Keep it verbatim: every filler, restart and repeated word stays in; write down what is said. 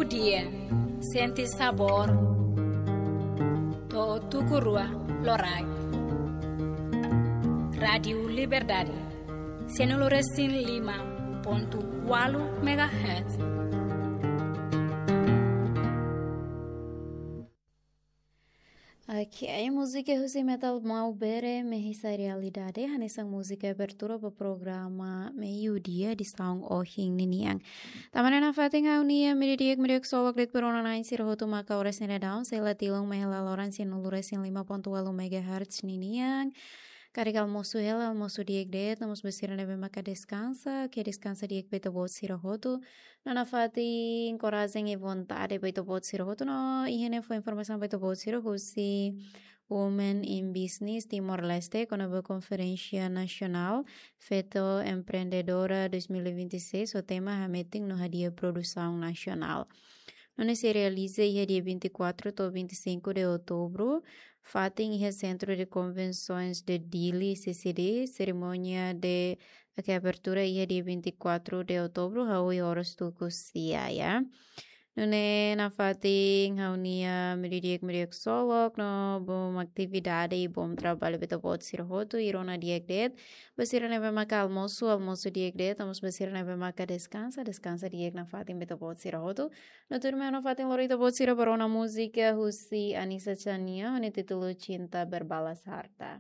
Dia, sente sabór. To'o tuku rua loraik. Rádiu Liberdade, sianulu resin lima pontu ualu megahertz. Ok, múzika husi Metal Maubere, Mehisa Realidade, hanesan múzika abertura ba programa Meiudia edisaun ohin ninian. Tanba ne'e nafatin ha'u-nia mediodía, mediodía solok de'it ba rona-na'in sira hotu maka oras ne'e daudaun, sei la tilun mai hela loron sianulu resin lima pontu ualu megahertz ninian. Karik almosu hela, almosu di'ak de'it, no mós ba sira ne'ebé maka deskansa, ke deskansa di'ak ba ita-boot sira hotu. No nafatin enkorajen i vontade ba ita-boot sira hotu, no iha ne'e fó informasaun ba ita-boot sira husi Women in Business Timor-Leste, kona-ba Konferénsia Nasionál Feto Empreendedora dois mil e vinte e seis, ho tema Hametin no Hadi'a Produsaun Nasionál. Nune'e sei realiza iha dia vinte e quatro to'o vinte e cinco de outubro, fatin iha Centro de Convenções de Dili, C C D, serimónia de abertura iha dia vinte e quatro de outubro, hahú oras tuku sia, ya. Nune'e nafatin ha'u-nia mediodía, mediodía solok, no bom atividade i bom trabalho ba ita-boot sira hotu, i rona di'ak de'it ba sira ne'ebé maka almosu, almosu di'ak de'it, no mós ba sira ne'ebé maka deskansa, deskansa di'ak nafatin ba ita-boot sira hotu. No tuirmai ha'u nafatin lori ita-boot sira ba rona múzika husi Anisa Txania, ho nia títulu Cinta Berbalas Harta.